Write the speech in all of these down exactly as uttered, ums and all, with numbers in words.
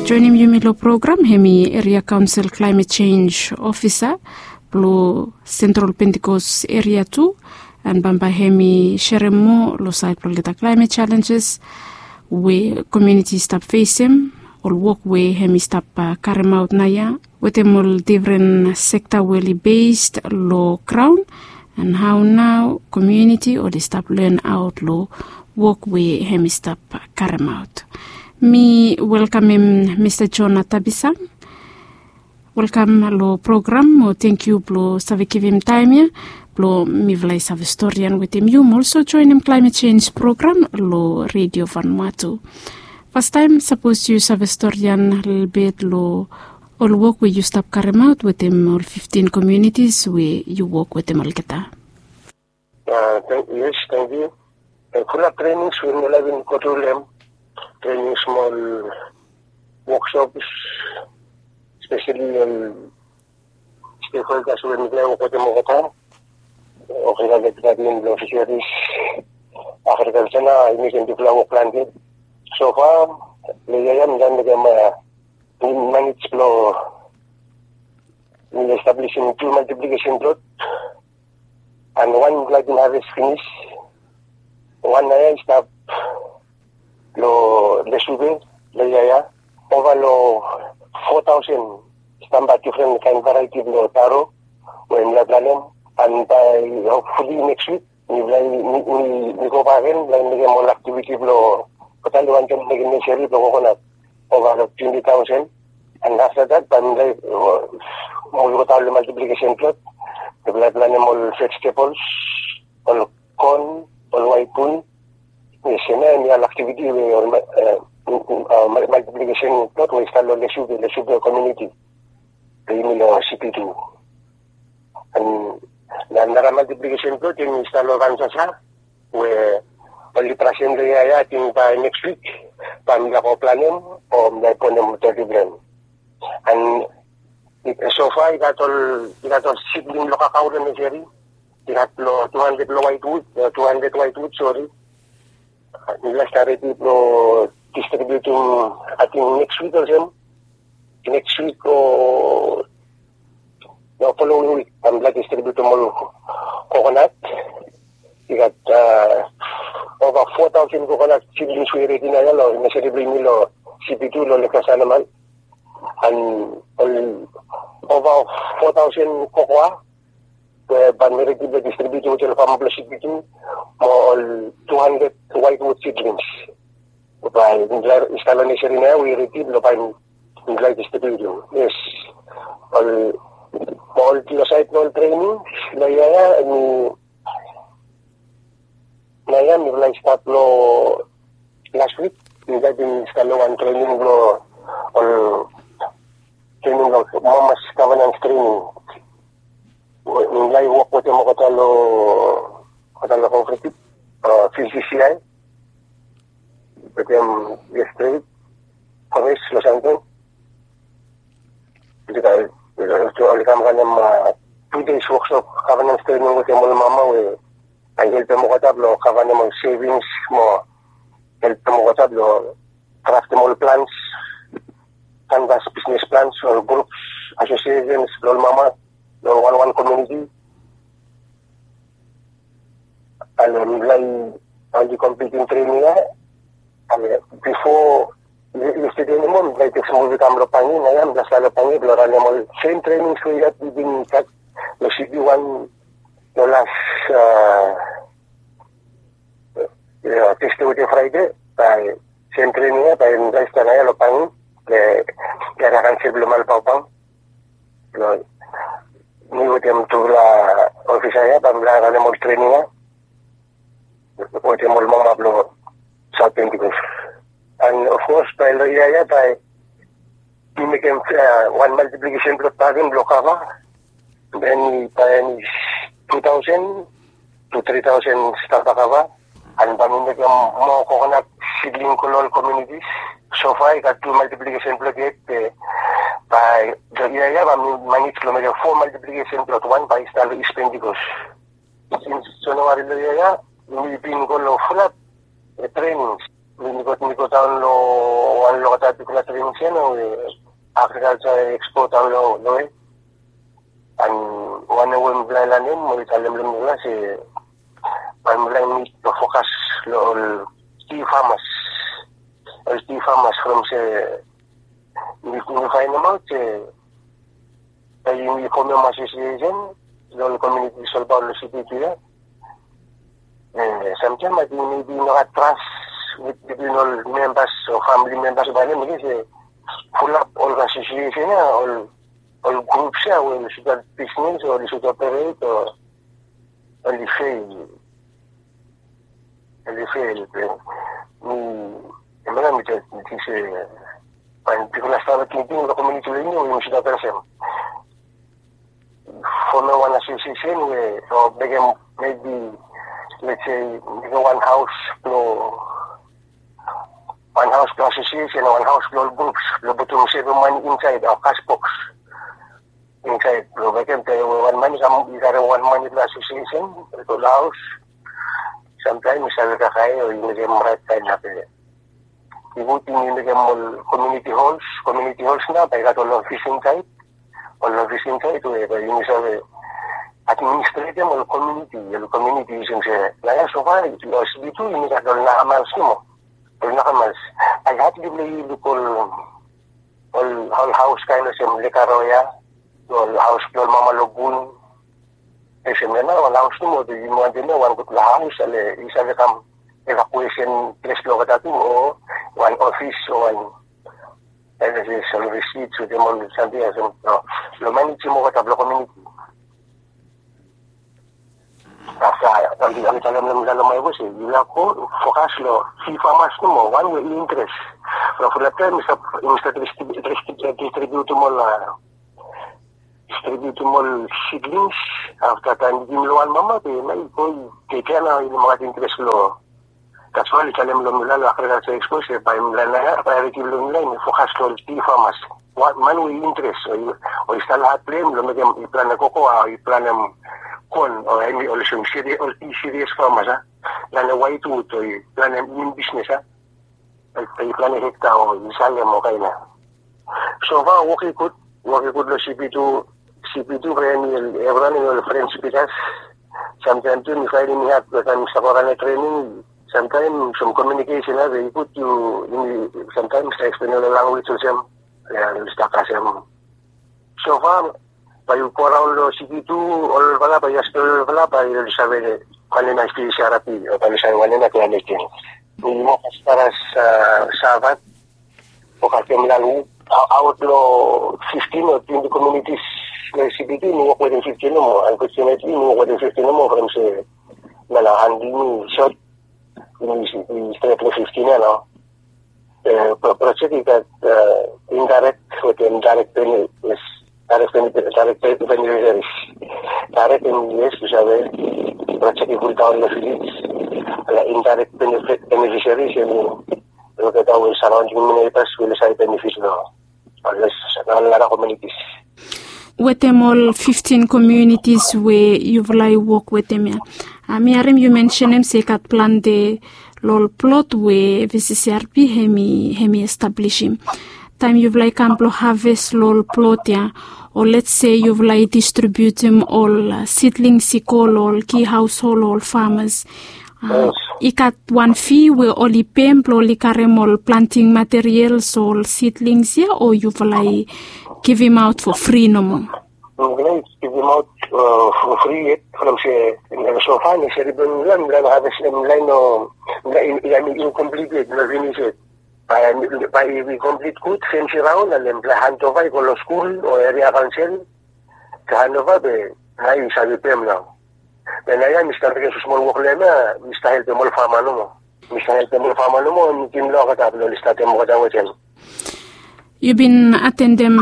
Joinim yumi long program hem i eria kaonsel klaimet sens ofisa blong sentral pentikos eria tu. An bambae hem i serem moa long sait blong olgeta klaimet selenses we komiuniti i stap fesem, ol wok we hem i stap karemaot naoia wetem ol defren sekta we oli bes long graon, an hao nao komiuniti oli stap lenaot long wok we hem i stap karemaot. Mi welkamem mista jona tabisang. Welkam long program mo tengkiu blong save givim taem ya blong mifala i save storian wetem yu mo olso joenem klaemet sens program long redio vanua tu. Fastaem sapos yu save storian lelebet long ol wok we yu stap karemaot wetem ol fiftin komiunitis we yu wok wetem olgeta. Yes, tengkiu. Fulap trenings we mifala bin go tru long em, trenings mo ol woksops, speseli ol stekholdas we mifala i wok wetem olgeta, olgeta department blong fiseris, agrikalsa nao i mekem bigfala wok plante. Sofa long yia ya mifala i mekem manij blong mi establisim tu maltiplikesin plot. An wan mifala i bin haves finis. Wan naoia i stap long lesube long yia ya. Ova long fo taosen stamba difren kaen varieti blong taro we mifala i planem. An bae hopfuli neks wik mifala i mi go bak gen mifala i mekem ol aktiviti blong olgeta i wantem mekem neseri blong kokonat ova long twenti taosen. An afta dat bae mifala i move olgeta long maltiplikesin plot. Mifala i planem ol vejtebols, ol kon, ol waet bun. Yes, hemia hemi ol aktiviti we ol maltiplikesin plot we i stap long lesube, lesube komiuniti. Yumi long sipi tu. An nara maltiplikesin plot hemi stap long vansasa we oli trasem long yia ya. Ating bae neks wik bae mifala go planem o mifala i bonem toti blong hem. An sofa i gat ol i gat ol sidling blong kakao long neseri. I gat long tu handred long waetwud, tu handred waetwud sori. Mifala i stap redi blong distribiutum ating neks wik olsem. Neks wik o long folowing wik bae mifala i distribiutum ol kokonat. I gat ova fo taosen kokonat sidlings we i redi naoia long neseri blong yumi long sipi tu long lekasanaman. An ol ova fo taosen kokoa we bae mi redi blong distribiutum wetem ol fama blong sipi tu mo ol tu handred waetwud sidlings. Bae mifala i stap long neseri naoia we i redi blong bae mifala i distribiutum. Yes. Ol mo ol long saed blong ol trening long yia ya hemi naoia mifala i stat long las wik. Mifala i bin stat long wan trening blong ol trening blong mamas gavanans trening. Mifala i wok wetem olgeta long olgeta long kooperativ, vcci, wetem yestret, kores long santon. Oli kam ranem tu deis woksop gavanans trening wetem ol mama we bae i helpem olgeta blong kavanem ol sevings mo helpem olgeta blong draftem ol plans, kanvas bisnes plans, ol grups, asosiesens blong ol mama long wanwan komiuniti. Ale mifala i oli komplitim trening ya. Ale bifo yestede animo mifala i tek smol brek kam long Pangi. Naoia mifala stap long Pangi blong ranem ol sem trenings we i gat i bin stat long sipi wan long las Tusde wetem Fraede. Bae sem trening ya bae mifala i stap naoia long Pangi long eria kaonsel blong Malbaubang. Blong mi wetem tufala ofisa ya bae mifala ranem ol trening ya wetem ol mama blong Saot Pentikos. An ofkos bae long yia ya bae mi mekem wan maltiplikesen blot bakegen blong kava. Hemi bae hemi tu taosen tu tri taosen stamba kava. An bae mi mekem moa kokonat sidling go long ol komiunitis. Sofa i gat tu maltiplikesen blot yet be bae long yia ya bae mi manej blong mekem fo maltiplikesen blot. Wan bae i stap long Is Pentikos. Sins Januari long yia ya mi bin go long fulap trenings. Mi go mi go daon long wan long olgeta bigfala trening sena we agrikalsa ekspo daon long long we. An wanem we mifala i lanem oli talem long mifala se bae mifala i nid blong fokas long ol ti famas, ol ti famas from se mi mi faenemaot se bae yumi fomem asosiesen long ol komiuniti i solbaot long siti tu ya. Samtaem ating mebi i no gat tras bitwin ol membas o famili membas bae nem i se fulap ol asosiesen ya, ol ol grups ya we oli sud gat bisnes o oli sud operate o oli fel. Oli fel be mi hemia nao mi tok se bae bigfala stap tingting long komiuniti blong yumi we yumi sud gat olsem fomem wan asosiesen we o mekem mebi lets se mekem wan haos blong wan haos blong asosiesen o wan haos blong ol grups blong putum sevem mane insaed o kas boks insaed blong mekem taem we wan man i kam i karem wan mane blong asosiesen long haos. Samtaem i save kakae o i mekem raet kaen ap ya. I gud yumi mekem ol komiuniti hols, komiuniti hols nao bae i gat ol ofis insaed, ol ofis insaed we bae yumi save administretem ol komiuniti, ol komiuniti i olsem se nao ya sofa ol siti tu yumi gat ol nakamas nomo. Ol nakamas bae i had blong yu luk ol ol haos kaen olsem Lekaroya, ol haos blong ol mama long Bun. Olsem ya nao ol haos nomo, yumi wantem ya wan gudfala haos ale i save kam evakuesen ples blong olgeta tu o wan ofis o wan evakuesen ol risit wetem ol samting ya olsem blong manejim olgeta blong komiuniti. Afta mi talem long mifala long Maevo se yufala go fokas long fi famas nomo wan we i interes. From fulap taem mi stap mi stap distribiutim ol distribiutim ol sidlings. Afta taem mi givim long wan mama be nao i go i tekem ya nao i no moa gat interes long That's why oli talem long mifala long agrikalsa ekspo se bae mifala nao ya praeoriti blong mifala i fokas long ol ti famas. Man we i interes o i stap long hat blong hem long mekem i planem kokoa o i planem kon o hemi olsem ol ti sirias famas a, planem waetwud o i planem nim bisnes a, o i planem hekta o i salem o kaen ya. Sofa wok i gud, wok i gud long CP tu. CP tu bae hemi evriwan hemi ol fren spikas. Samtaem tu mi faenem i had long taem mi stap wok long trening. Samtaem sam komiunikesen ya bae i gud yu yumi samtaem mi stap eksplenem long lanwis olsem ya mi stap kasem. Sofa bae yu go raon long CP tu olfala bae yu askem olfala bae yu save wanem ya CRP o bae yu save wanem ya klaemet. Mi wok as far as Savat. Wok atem lalu aot long fiftin o twenti komiunitis long CP tu mi wok wetem fiftin nomo. Unfortunately mi wok wetem fiftin nomo from se nala handel mi sot. Mi stret long fiftin ya nao. Projek i gat indairek wetem dairek benefit. Dairek benefit dairek benefit. Dairek benefit yu save projek i puldaon long vilej. Indairek benefit benefit yu save olgeta we saraonding mi neighbors we oli save benefit long ol nara komiunitis. Wetem ol fiftin komiunitis we yufala i wok wetem ya, mi harim yu mensenem se i gat plante long ol plot we VCCRP hemi hemi establisim. Taem yufala i kam blong haves long ol plot ya, o lets se yufala i distribiutim ol sidlings i go long ol ki haoshol o ol famas, i gat wan fi we oli pem blong oli karem ol planting materials o ol sidlings ya o yufala i givimaot fo fri nomo? Yufala i givimaot fo fri yet from se sofa ne seri blong mifala mifala no haves mifala i no mifala i no inkomplit yet, i no finis yet. Bae i komplit gud fensi raon ale mifala i handova i go long skul o eria kaonsel. Handova be nao i save pem nao. Be nao ya mi stap mekem smol wok long hem ya, mi stap helpem ol fama nomo. Mi stap helpem ol fama nomo, mi givim long olgeta blong oli statem olgeta wetem. Yu bin atendem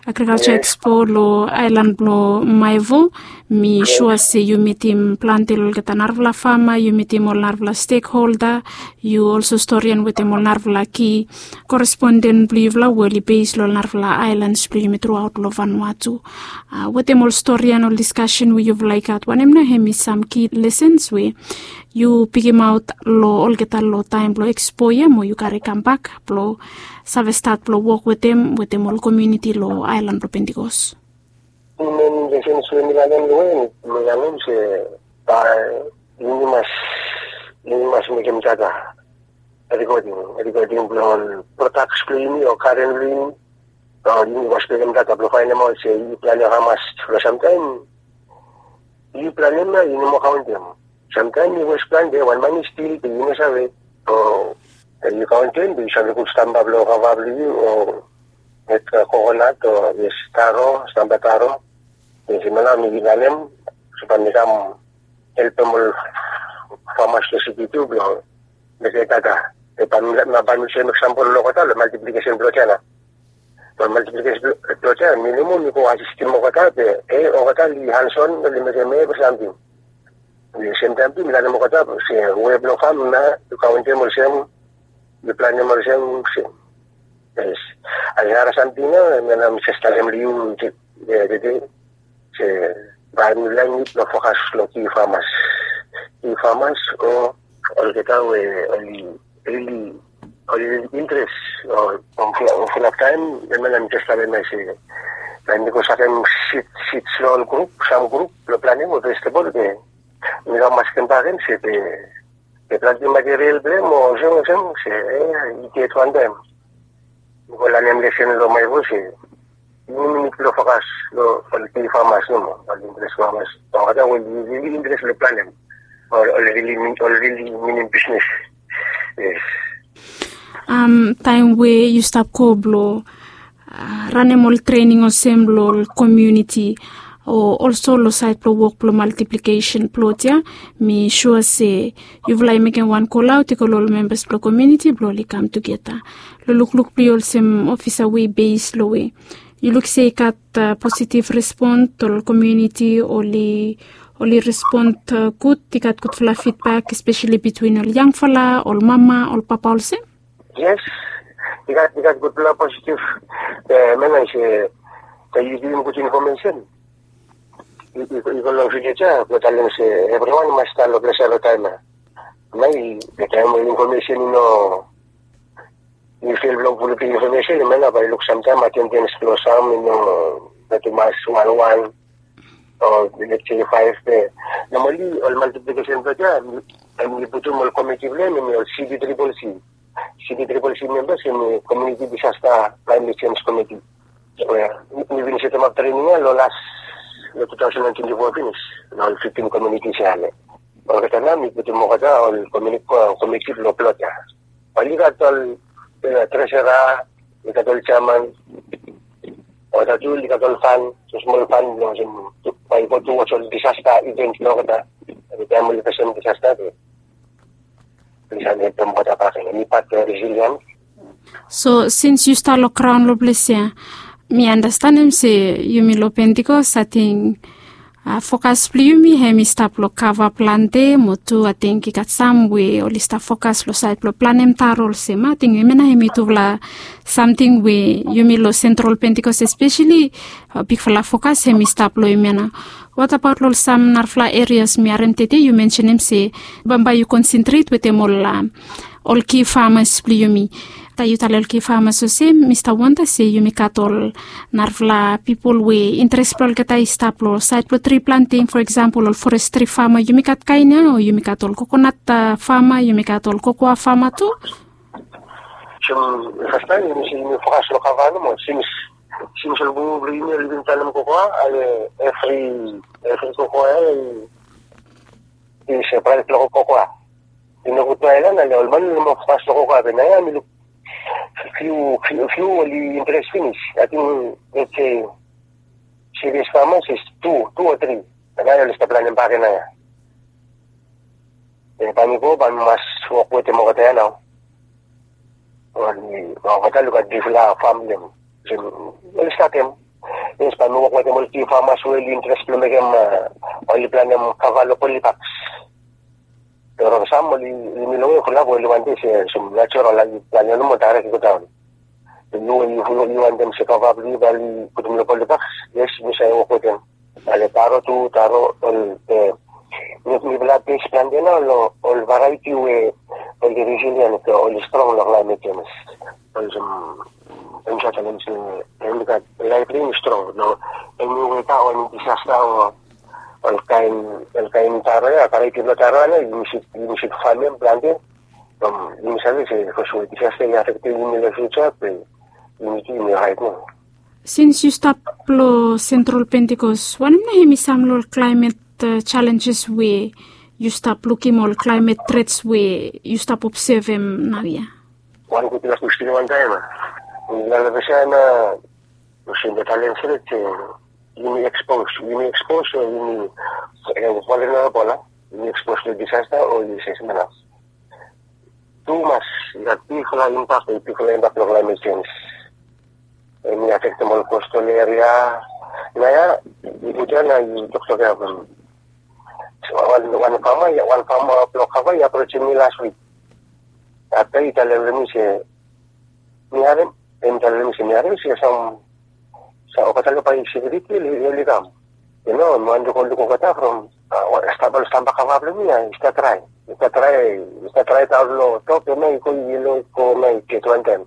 agrikalsa ekspo long aelan blong Maevo. Mi sua se yu mitim plante long olgeta narafala fama, yu mitim ol narafala stekholda. Yu olso storian wetem ol narafala ki koresponden blong yufala we oli bes long ol narafala aelans blong yumi truaot long Vanuatu. Wetem ol storian ol diskasen we yufala i gat wanem nao hemi sam ki lesens we yu pikimaot long olgeta long taem blong ekspo ia mo yu kare kambak blong save stat blong wok wetem wetem ol komuniti long aelan blong Pentikos. Imen lesen sue mi lanem long en mi lanem se bae yumi mas yumi mas mekem data, rekoding rekoding blong ol prodaks blong yumi o karen blong yumi. O yumi mas mekem data blong faenemaot se yu planem hamas long samtaem yu planem na yu no moa kaontem. Samtaem yu wes plante wan man i stil be yu no save. O yu kaontem be yu save gut stamba blong kava blong yu o met kokonat o yes taro stamba taro. Yes mena mi lanem supa mi kam helpem ol famas long siti tu blong mekem data. Be bae mi save mekem sampol long olgeta long maltiplikesen blong olgeta na. Ol maltiplikesen blong olgeta mi nomo mi go asistim olgeta be e olgeta oli hanson oli mekem evri samting. Be semtaem tu mi lanem olgeta se we blong fam na yu kaontem olsem yu planem olsem se. Yes. Ai nara samting na mi na mi jes talem long yu tede se bae mi laen yu blong fokas long ki famas. Ki famas o olgeta we oli rili oli rili interes o fulap taem. Em na mi jes talem ya se bae mi go sakem sid sid long ol grup sam grup blong planem ol vegetebol be mi kam askem bakegen se be be plante materiel blong hem o olsem olsem se e i get wantaem. Mi go lanem lesen long maevos se yu nid blong fokas long ol big famas nomo ol interes famas. Olgeta we yu rili interes long planem ol rili ol rili minim bisnes. Yes. Taem we yu stap go blong ranem ol trening olsem long ol komuniti o olso long saed blong wok blong maltiplikesen plot ya, mi sua se yufala i mekem wan kolaot i go long ol membas blong komuniti blong oli kam tugeta. Long lukluk blong yu olsem ofisa we i bes long we yu luk se i gat positiv respon ol komuniti oli oli respon gud, i gat gudfala fidbak espeseli bitwin ol yangfala ol mama ol papa olsem. Yes. I gat i gat gudfala positiv. Mena i se ta yu givim gud infomesen i go long vilis ya blong talem se evriwan i mas stap long ples ya long taem ya. Mai taem we infomesen i no i fil blong pulutim infomesen i mena bae i luk samtaem atendens blong sam i no nati mas wanwan o let's say faef be. Nomali ol maltiplikesen blong ya em i putum ol komiti blong em em i ol cb triple c. Cb triple c membas em i komuniti disasta klaemet senj komiti. Mi bin setemap trening ya long las long two thousand and twenty four finis long ol fiftin komunitis ya. Olgeta nao mi putum olgeta ol komuniti blong plot ya. Oli gat ol tresera, oli gat ol jeaman, olgeta tu oli gat ol fan, smol fan blong olsem bae i go tu was ol disasta ivens blong olgeta. Eni taem oli fesem disasta be oli save helpem olgeta bakegen. Eni pat blong resiliens. So sins yu stap long graon long ples ya, mi anastenem se yumi long Pentikos ating fokas blong yumi hem i stap long kava plante mo tu ating i gat sam we oli stap fokas long saed blong planem taro olsem ating hemia na hem i tufala samting we yumi long sentral Pentikos espeseli bigfala fokas hem i stap long hemia na. Watabaot long ol sam narafala erias mi harem tede yu mensenem se bambae yu konsentret wetem ol ol ki famas blong yumi. Taem yu talem ol ki famas olsem mi stap wanda se yumi gat ol narafala pipol we interes blong olgeta i stap long saed blong tri planting, fo eksampol ol forestri fama yumi gat kaen ya o yumi gat ol kokonat fama, yumi gat ol kokoa fama tu. Sem fastaem yumi se yumi fokas long kava nomo sins sins ol bubu blong yumi oli bin planem kokoa ale evri evri kokoa ya i se praes blong kokoa. I no gud bae long ale ol man oli no moa fokas long kokoa be naoia mi luk fiu fiu oli interes finis. Ating let's se sirias famas is tu tu o tri. Naoia oli stap planem bak ya naoia. Be bae mi go bae mi mas wok wetem olgeta ya nao. Oli olgeta oli gat bigfala fam blong hem oli statem. Yes bae mi wok wetem ol ki famas we oli interes blong mekem oli planem kava long polibaks. Long rong sam oli yumi long we fulap we oli wantem se sem natural oli planem nomo daerek i go daon. Yu we yu wantem se kava blong yu bae oli putum long polibaks. Yes mi save wok wetem. Ale taro tu taro ol Mifala base plante nao long ol variety we oli resilient, oli strong long climate change. Olsem, em sa talem se em i gat laip blong em i strong. No, eni weta o eni disasta o ol kain, ol kain taro ya, variety blong taro ya, yumi should, yumi should famem plante. From yumi save se sapos we disasta i afektem yumi long future, be yumi tu yumi orait nao. Sins yu stap long Central Pentecost, wanem nao hemi sam long ol climate challenges we yu stap lukim, ol climate threats we yu stap obsevem naoia? Wan gutpela kwestin wantaem. Long olgeta ya nao, olsem mi talem stret se yumi expose, yumi expose o yumi vulnerable, yumi expose long disasta o yumi se smela. Tumas i gat bigfala impact, bigfala impact long climate change. Hemi afektem ol coastal area. Naoia yu go ya nao yu toktok ya from wan, wan fama, wan fama blong kava i aprosim mi las wik. Afta i talem long mi se mi harem, em talem long mi se mi harem se sam, sa olgeta long bai sekuriti oli kam. Yu no, mi wani go luk olgeta from, stap, ol stamba kava blong mi ya i stat drae, i stat drae, i stat drae daon long top ya nao i go yelo i go nao i get wantaem.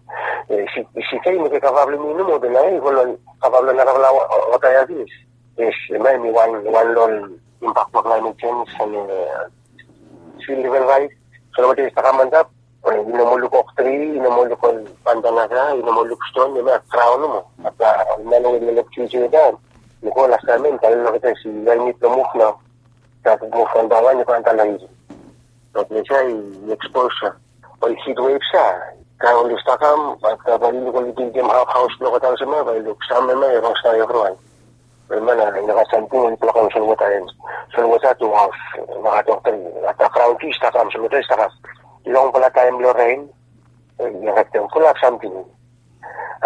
Sika i mekem kava blong mi nomo, be nao i go long kava blong narafala wota ya pinis. Yes, em ya hemi wan, wan long ol impact blong climate change. And sea level rise, solwota i stakam antap. I no moa luk oktri, i no moa luk ol pandanasa, i no moa luk ston, i no moa graon nomo. Afta ol man we i no luk sui sui daon, i go lastaem ya i talem long olgeta se yu help mi blong muv nao. Stat muv wan bae wan i go antap long isi. Long ples ya i expose ya. Ol heat waves ya, taem oli stakam, afta bae yu luk oli bildem haos blong olgeta olsem ya, bae yu luk sam hemia i rong stap evriwan. Hemia nao i no gat samting we i blokem solwota, solwota tu haos, nogat oktri. Afta graon tu i stakam, solwota i stakam. Longfala taem blong ren i afektem fulap samting.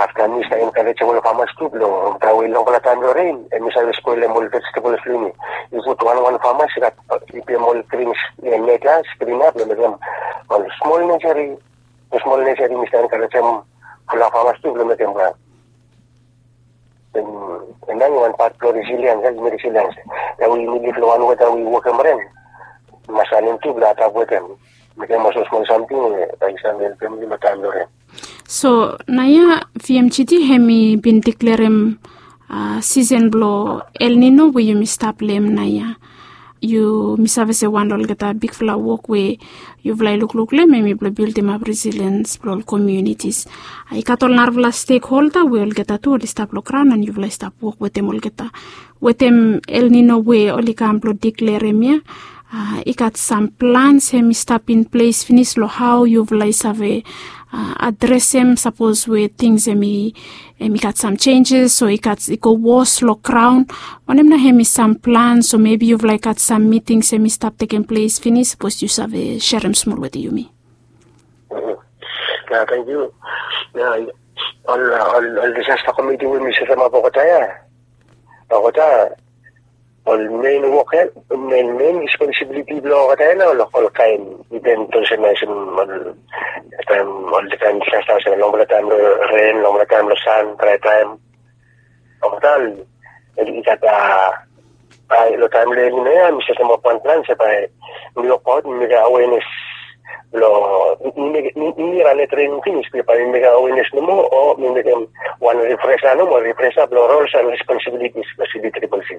Afta mi stap enkarejem ol famas tu blong, taem we longfala taem blong ren hemi save spolem ol vegetables blong yumi. Yu putum wan wan famas i gat, i pem ol grin net ya, skrin ya blong mekem ol smol neseri, ol smol neseri. Mi stap enkarejem fulap famas tu blong mekem. Em, em ya hemi wan pat blong resiliens, ya hemi resiliens. Ya we yumi liv long wan weta we i wokem ren, mas lanem tu blong adapt wetem, mekem ol smol samting we bae i save helpem yu long taem blong ren. So naoia V M G T hemi bin deklerem sisen blong El Nino we yumi stap long hem naoia. Yumi save se wan long olgeta bigfala wok we yufala i lukluk long hem hemi blong bildimap resiliens blong ol komiunitis. I gat ol narafala stekholda we olgeta tu oli stap long graon and yufala i stap wok wetem olgeta, wetem El Nino we oli kam blong deklerem ya. I gat sam plans hemi stap in ples finis long hao yufala i save adresem sapos we tings hemi, hemi gat sam senjes o i gat, i go wos long graon? Wanem nao hemi sam plans o mebi yufala i gat sam mitings hemi stap tekem ples finis, sapos yu save serem smol wetem yumi? Ya, tangkiu. Ya, ol, ol, ol disasta komiti we mi setemap olgeta ya, olgeta, ol men wok ya, men, men responsibiliti blong olgeta ya nao, ol kaen iven olsem ya, olsem ol, taem, ol kaen disasta olsem longfala taem blong ren, longfala taem blong san, drae taem. Olgeta i gat, a, long taem blong El Nino ya mi setemap wan plan se bae mi wokbaot, mi mekem awenes blong, mi, mi, mi ran long trening finis, be bae mi mekem awenes nomo o mi mekem wan rifresa nomo, rifresa blong rols and responsibilities blong C B triple C.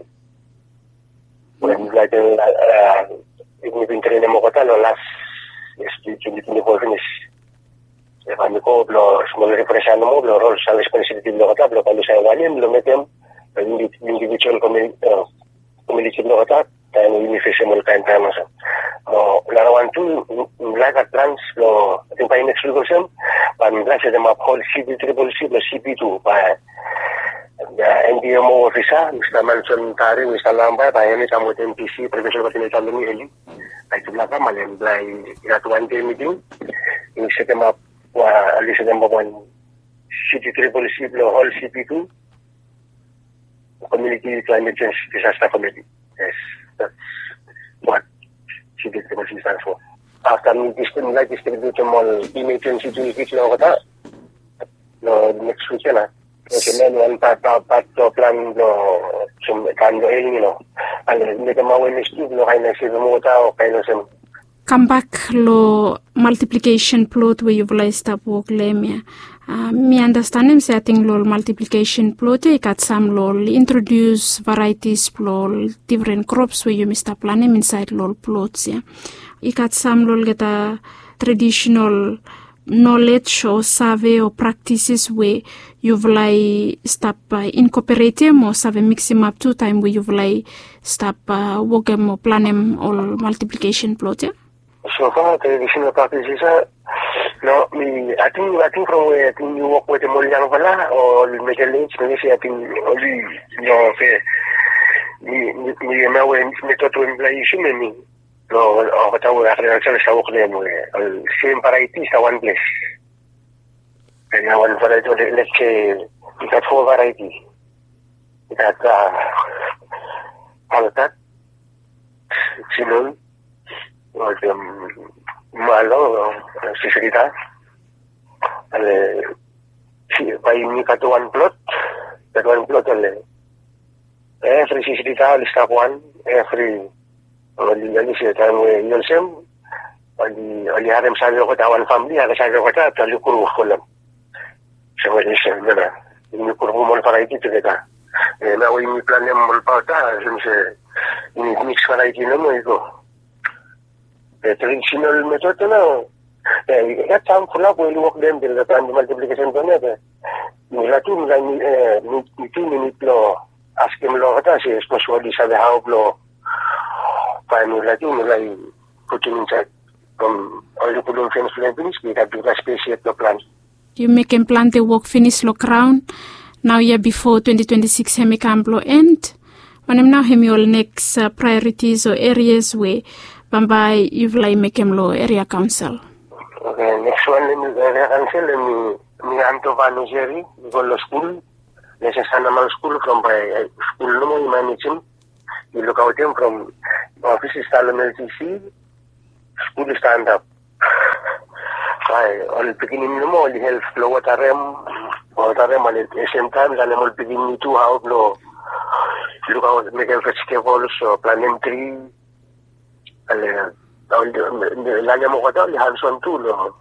Wen mi laik, a, mi bin trenem olgeta long las yia, twenty twenty-four finis. Bae mi go blong smol rifresa nomo blong rols and responsibiliti blong olgeta, blong bae mi save wanem blong mekem long indivijual komiuniti blong olgeta taem we yumi fesem ol kaen taem olsem. Mo narawan tu, mi laik gat plans blong, ating bae neks wik olsem, bae mi laik setemap ol C B triple C blong C B tu, bae N P M O ofisa, Mista Manson Tari, Mista Lamba, bae hemi kam wetem P C, Profesor Martin Italoni Eli. Bae tufala kam, ale bae i gat wan dei miting. Yumi setemap, wan, oli setemap wan C B triple C blong ol C B tu, Community Climate Change Disaster Committee. Yes, that's what C B triple C stands for. Afta mi distribute, mi laik distributem ol emergency toolkit long olgeta long neks wik ya nao. Olsem wan pat, pat, pat blong plan blong, olsem taem blong El Nino. Ale mekem awenes tu blong kaen na sevem wota o kaen olsem. Kambak long multiplication plot we yufala i stap wok long hem ya. Mi andastanem se ating long ol multiplication plot ya i gat sam long ol introdius varietis blong ol different crops we yumi stap planem insaed long ol plots ya. I gat sam long olgeta traditional knowledge o save o practices we yufala i stap incorporatem o save mixim ap tu taem we yufala i stap wokem o planem ol multiplication plot ya. So far traditional practices ya, no, mi ating ating from we ating mi wok wetem ol yangfala o ol middle age, mi se ating oli no fe mi mi mi we mi tot we mipela yusum em mi. Long olgeta we agrikalsa i stap wok long hem we ol sem variety i stap wanples. Em ya wan variety, let's say, i gat fo variety. I gat alkat, sinon, olsem, malo, sisrita. Ale bae yumi gat wan plot, gat wan plot ale evri sisrita oli stap wan, evri oli oli se taem we i olsem oli oli harem save olgeta, wan famili harem save olgeta, oli kru folem. So oli se mera yumi kru ol variety tugeta. Nao we yumi planem ol pauta olsem se yumi mix variety nomo i go. Traditional method ya nao, i gat sam fulap we oli wok long hem, long planti multiplication plan ya. Be mipela tu mipela mi tu mi nid long askem long olgeta se sapos oli save hao blong bae mipela tu mipela i putum insaed from oli putum fens blong hem finis, i gat bigfala spes yet blong plan. Yu mekem plante wok finis long graon. Nao yia bifo twenti twenti sikis hem i kam blong en. Wanem nao hem i ol neks praeoritis o erias we bambae yufala i mekem long eria kaonsel? Oke, neks wan long eria kaonsel hem i antovaneseri, i go long skul. Nesesana mal skul from bae skul nomo i manejim. I lukaotem from ofis i stap long mltc. Skul i stap antap. Bae ol pikinini nomo oli help long wotarem, wotarem ale semtaem lanem ol pikinini tu hao blong lukaot, mekem vejitebol o planem tri. Ale lanem olgeta oli hanson tu long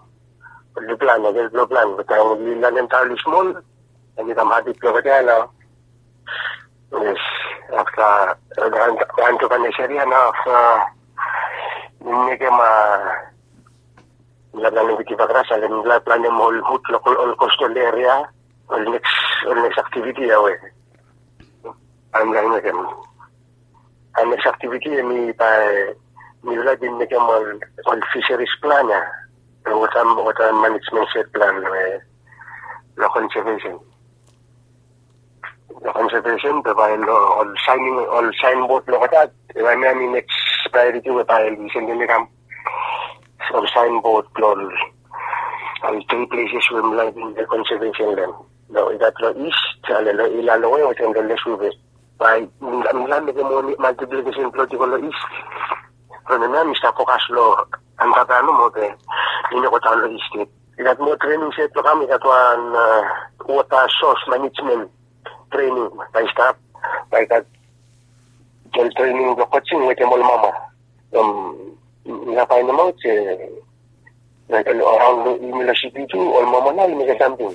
oli plan, oli help long plan. Taem oli lanem taem oli smol, oli kam habit blong olgeta ya nao. Yes, afta entrepreneurship ya nao afta mi mekem a mipela plan long Witiva Gras, ale mipela planem ol hut long ol coastal area, ol neks, ol neks activity ya we mipela mekem. A neks activity ya mi bae mipela bin mekem ol, ol fisheries plan ya, water, water management shed plan we long conservation. Long conservation be bae long ol signing, ol signboard long olgeta, bae mi, mi neks priority we bae oli sendem i kam. Ol signboard blong ol tri places we mipela bin mekem conservation land. Long i gat long east, ale long Ilaloe wetem long Lesuve. Bae mipela mekem ol multiplication plot i go long east. From hemia mi stap fokas long Angabaia nomo be mi no go daon long east yet. I gat moa trening set blong kam, i gat wan water source management trening bae i stap. Bae i gat ol trening blong coaching wetem ol mama. Mipela painemaot se around long yumi long siti tu ol mama nao oli mekem samting.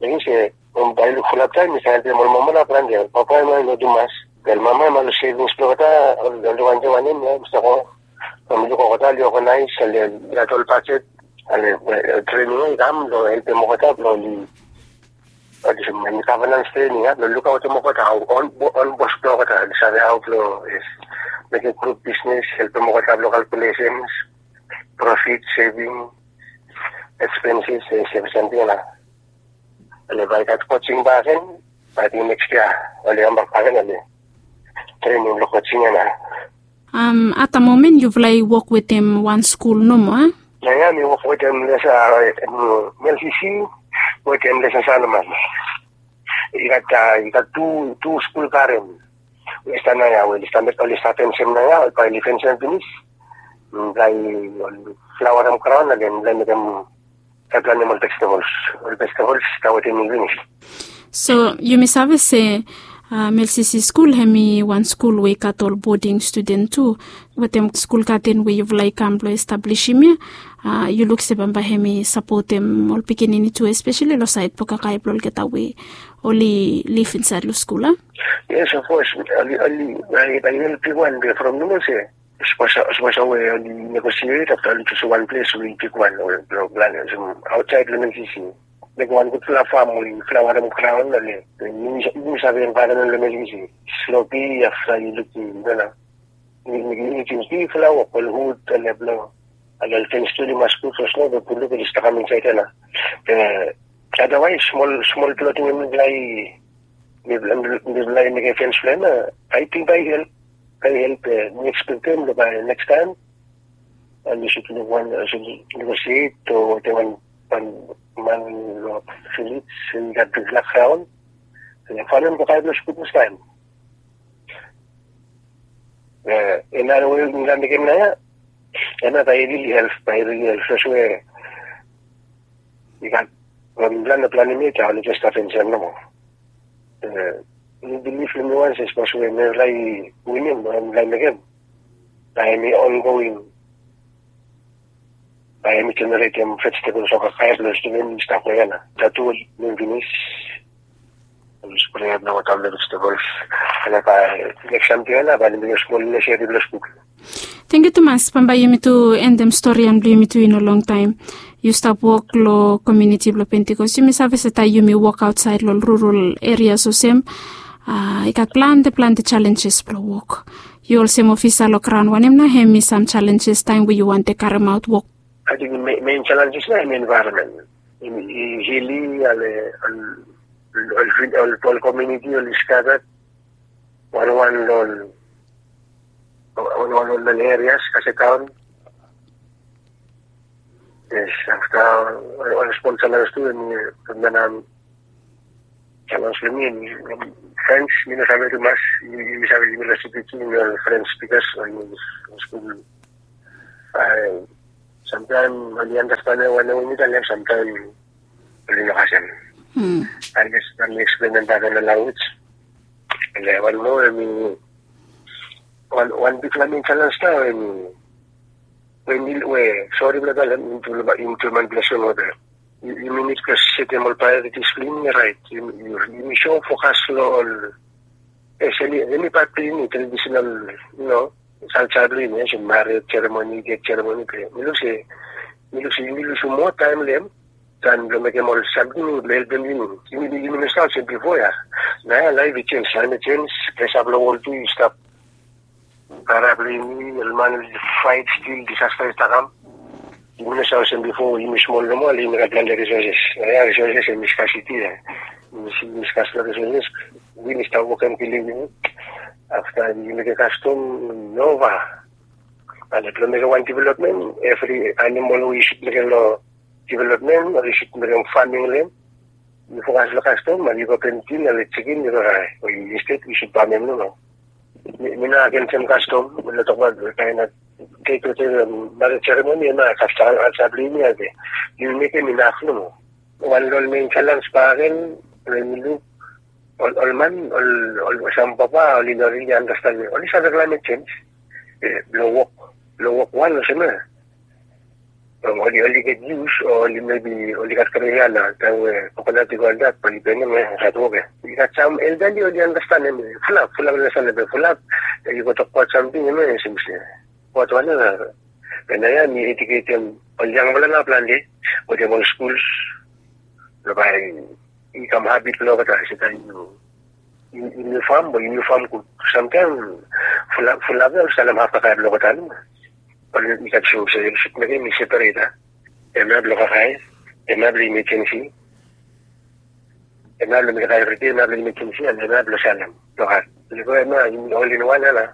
Mekim se bae i luk fulap taem mi save helpem ol mama nao planti. Ol papa hemia i no tumas. Be ol mama hemia long savings blong olgeta oli wantem wanem ya mi stap go. From mi luk olgeta oli organize, oli gat ol bajet, ale trening ya i kam long helpem olgeta blong oli olsem governance training ya, long lukaotem olgeta, ol bos blong olgeta oli save hao blong mekem group business, helpem olgeta blong calculations, profit, saving, expenses, se samting ya nao. Ale bae i gat coaching bakegen, bae ating next year oli kambak bakegen, ale trening blong coaching ya nao. At the moment yufala i wok wetem wan skul nomo, a? Nao ya mi wok wetem lesa, mlcc, wetem lesa sanaman. I gat, i gat tu, tu skul garden. Westa nao ya we oli stap, oli stap fensem nao ya, bae oli fensem finis. Bae oli flaoarem graon, and then bae mekem, bae planem ol vegetables. Ol vegetables stap wetem mi finis. So yumi save se Melsisi skul hem i wan skul we i gat ol boding studen tu, wetem skul gaden we yufala i kam blong establisim ya. Yu luk se bambae hem i sapotem ol pikinini tu, espeseli long saed blong kakae blong olgeta we oli lif insaed long skul a. Yes, of course. Oli oli bae help bigwan be from nomo se sponsor sponsor we oli negosiet afta oli tus wan ples we i bigwan we blong plan olsem aotsaed long Melsisi. Mekem wan gudfala fam we i flawarem graon oli yumi save envaeronmen long Melsisi. Slopi afta yu lukim nana. Mekem bigfala wok ol hud oli blong oli ol fens tu oli mas gud long sno be puluk oli stap kam insaed ya na. Be adawaes smol smol ploting we mifala i mifala i mekem fens blong hem ya, ating bae i help. Bae i help. Mi ekspektem long bae nekstaem oli sud luk wan, oli sud negosiet o wetem wan man long vilej i gat bigfala graon. Famem kakae blong skul fastaem. Another we mifala mekem nao ya, another bae i rili help, bae i rili help sapos we i gat we mifala no planem yet, a oli jes stap fensem nomo. Mi bilif long mi wan se sapos we mifala i winim we mifala i mekem, bae hem i ongoing, bae hem i jeneretem vejetables o kakae blong studen i stap long ya na. Tatu we mi finis, oli sprea long wota blong vejetables. Ane bae nekstaem tu ya na bae oli mekem smol nesesari blong skul. Tangkiu tumas. Bambae yumi tu endem storian blong yumi tu i no longtaem. Yu stap wok long komuniti blong Pentikos, yumi save se taem yumi wok aotsaed long rural erias olsem, i gat plante plante jalenjes blong wok. Yu olsem ofisa long graon, wanem nao hem i sam jalenjes taem we yu wantem karemaot wok? Ating mein jalenjes nao hem i envaeronmen. I hili, ale ol komuniti oli skata wanwan long ol erias kasetaon. Yes, afta ol sponsor laos tu em i, em i jalens long mi. Frens mi no save tumas. Yumi save yumi long siti tu yumi ol frens bikas yumi skul. Samtaem oli andastanem wanem we mi talem, samtaem oli no kasem. Unles mi eksplenem bak long lanwis. Wan moa em i wan bigfala mein jalens nao em i we sori blong talem, yumi tu man blong sori. Yumi nid blong setem ol praeoritis blong yumi raet. Yumi so fokas long ol, espeseli hemi pat blong yumi, tradisenal, yu no, kalja blong yumi olsem mared seremoni, det seremoni. Be mi luk se, mi luk se yumi lusum moa taem long hem dan blong mekem ol samting we blong helpem yumi. Yumi no stap olsem bifo ya. Naoia laef i jenis, taem i jenis, presa blong wol tu i stap. Kara blong yumi, ol man oli faet stil, disasta i stap kam. Yumi no stap olsem bifo, yumi smol nomo, ale yumi gat plante risoses. Naoia risoses hemi skasiti ya. Yumi si yumi skasiti long risoses. Win i stap wokem kilim yumi. Afta yumi mekem kastom, nova. Ale blong mekem wan developmen, evri animol we yu sud mekem long developmen o yu sud mekem faming long hem, yu fokas long kastom, ale yu go pentin, ale jikin, yu go rae. O yu instead yu sud bamem nomo. Mi no agensem kastom, mi no tokbaot kaen nao tek tek mared seremoni, hemia kalja blong yumi ya be yumi mekem inaf nomo. Wan long ol mein jalens bakegen we mi luk, ol man, ol sam papa oli no rili andastanem, oli save klaemet jenis. Blong wok, blong wok wan olsem ya. Oli oli get yus o oli mebi oli gat kemikal ya, taem we kokonat i go antap oli benem ya, gat wok ya. I gat sam eldali oli andastanem, fulap, fulap oli andastanem, be fulap i go tokbaot samting hemia olsem se, wok wan ya. Be naoia mi ediketem ol yangfala nao plante wetem ol skuls blong bae i kam habit blong olgeta se taem yu, yu fam, be yu fam gud. Samtaem fulap ya oli salem haf kakae blong olgeta nomo. Oli gat sum se oli sud mekem i seperet ya. Hemia blong kakae, hemia blong imejensi, hemia blong mekem kakae evri dei, hemia blong imejensi, hemia blong salem blong gat. Oli go hemia oli ol in wan ya nao.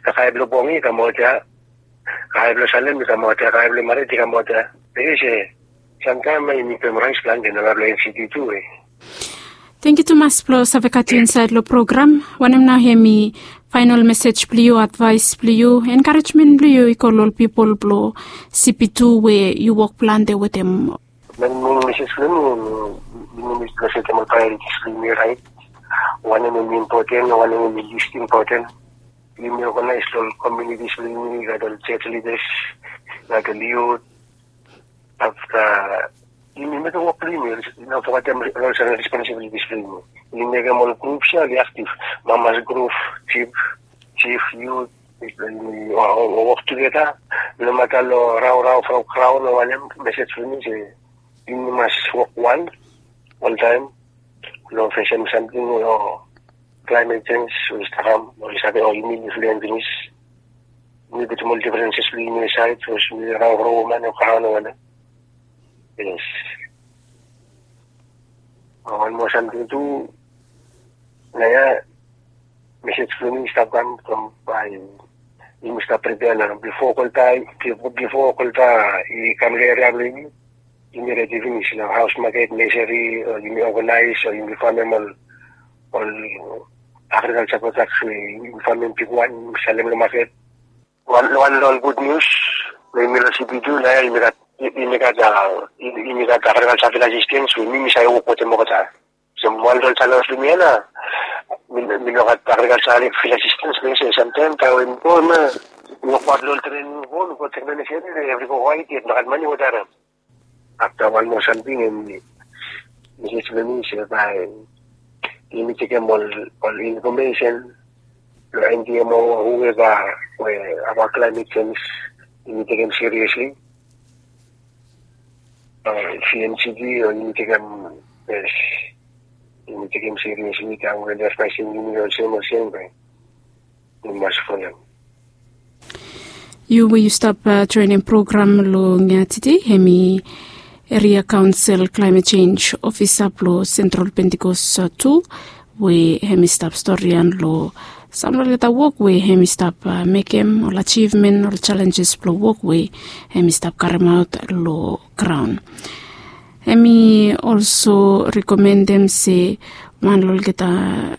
Kakae blong bong i kamaot ya, kakae blong salem i kamaot ya, kakae blong mared i kamaot ya. Be yu se samtaem yumi pem raes plante nao blong N C D tu we. Tangkiu tumas blong save gat yu insaed long program. Wanem nao hemi faenol mesej blong yu, advaes blong yu, enkarejmen blong yu i go long ol pipol blong C P two we yu wok plante wetem? Mein mesej blong mi, yumi nid blong setem ol praeoritis blong yumi raet. Wanem em impoten, wanem em i list impoten. Yumi oganais long komunitis bilong yumi, i gat ol church leaders, i gat ol youth. Afta yumi mekim wok bilong yumi, no fogetem ol responsibilities bilong yumi. Yumi mekim ol grups ya ol i aktif, mamas grup, chief, chief, youth, yumi wok tugeta. Nomata long raurau from kraun o wanem, mesej bilong mi se yumi mas wok wan oltaim long fesem samting long klaimet sens we i save kam, we i save, o yumi liflen pinis. Yumi putum ol difrenses bilong yumi asait, sapos yumi raurau man o kraun o wanem. Yes. Wan moa samting tu, naia mesej bilong mi i stap kam from bai yumi stap pripea nao, bifo kolta, bifo kolta i kam long eria bilong yumi, yumi redi pinis long haus maket, neseri, o yumi oganais, o yumi famem ol, ol agrikalsa prodaks we yumi famem bigwan, yumi salem long maket. Wan, wan long ol gud nius long yumi long sipi tu, naia yumi gat, yumi gat, a, yumi gat agrikalsa fil asistens we mi, mi save wok wetem olgeta. Olsem wan long ol jalas bilong mi ya nao, mi, mi no gat agrikalsa fil asistens, mi se samtaim taim we mi go, mi wokbaut long ol trening, go, mi go tek long neseri, evri go waet yet, no gat mani we darim. Afta wan moa samting em, mesej bilong mi se bai yumi tekem ol, ol infomesen long N D M O o huveva we abaut klaimet sens, yumi tekem siriesli. C N C D o yumi tekem, yes, yumi tekem siriesli, taim we ol i advaisem yumi olsem olsem, bai yumi mas folem. Yu we yu stap joinim program long tide, em i Eria Kaunsil Klaimet Senj Ofisa blong Sentral Pentikos tu, we em i stap storian long sampela olgeta wok we em i stap mekim, ol ajivmen, ol jalenjes blong wok we em i stap karimaot long graun. Em i olso rekomendim se wan long olgeta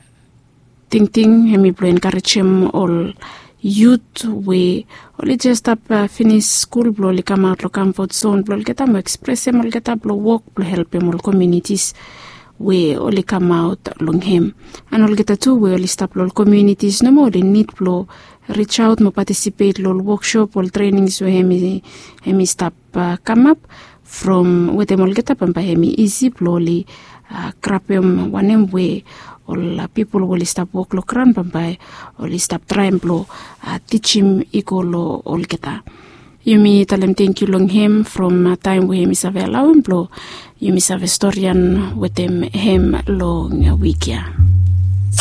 tingting em i blong enkarejim ol yut we oli jes stap finis skul blong oli kamaot long kamfot zon blong olgeta mo ekspresim olgeta blong wok blong helpim ol komunitis we oli kamaot long hem. An olgeta tu we oli stap long ol komunitis nomo oli nid blong rijaot mo patisipet long ol woksop, ol trenings we em i stap kamap from wetem olgeta, bambae em i isi blong oli grabim wanem we ol pipol we oli stap wok long graun, bambae oli stap traim blong tijim i go long olgeta. Yumi talem tenkyu long hem from taim we em i save alauim blong yumi save storian wetem hem long wik ya.